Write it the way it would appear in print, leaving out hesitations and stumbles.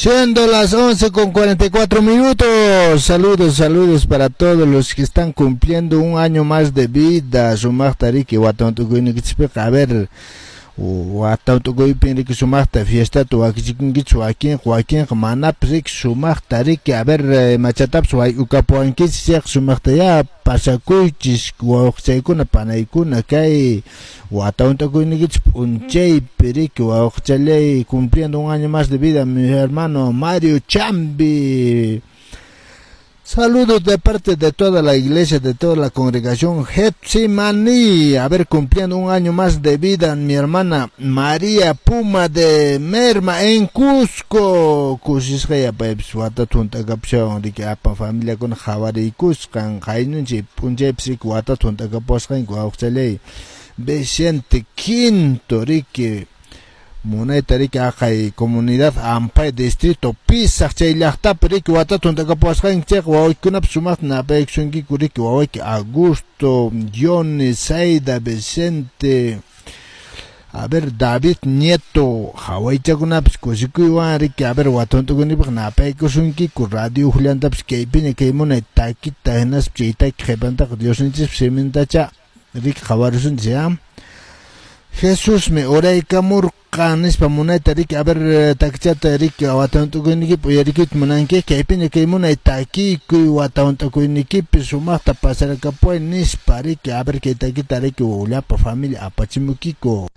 Siendo las 11:44. Saludos, saludos para todos los que están cumpliendo un año más de vida. Sumaqta riki watan tukuynikichispiqa, a ver, watan tukuypin riki sumaqta fiestata wakichikunkichis wakinqa, wakinqa manapis riki sumaqta riki, a ver, machatapis wayk'ukapuwankichis chayqa sumaqta ya pasakuychis wawqichaykuna panaykuna kay watan tukuynikichis p'unchaypi riki wawqichalay. Cumpliendo un año más de vida, mi hermano Mario Chambi. Saludos de parte de toda la iglesia, de toda la congregación Getsimani. A ver, cumpliendo un año más de vida, mi hermana María Puma de Merma en Cusco. Kusisqaya paypis watata hunt'akapushawan riki apan familiakuna qhawariykusqan qaynunchik p'unchaypis riki watata hunt'akapuwasqanku wawqichalay Vicente Quinto riki munayta riki aqay comunidad Ampay, distrito Pisaq chay llaqtapi riki watata hunt'akapuwasqanki chayqa wawaykikunapis sumaqta napaykusunkiku riki wawayki Augusto, Johnny, Saida, Vicente, a ver, David Nieto, hawaychakunapis kusikuywan riki, a ver, wata hunt'akunipaq napaykusunkiku radio Juliantapis kaypiña kay munay takita hinaspa chay taki qhipantaqa Diosninchikpa simintacha riki qhawarisunchis ya. Jesusmi uraykamurqan nispa munayta riki, a ver, takichata riki wata hunt'akuynikipi uyarikuyta munanki kaypiña kay munay takikuy wata hunt'akuynikipi sumaqta pasarakapuway nispa riki, a ver, kay takita riki llapa familia apachimukiku.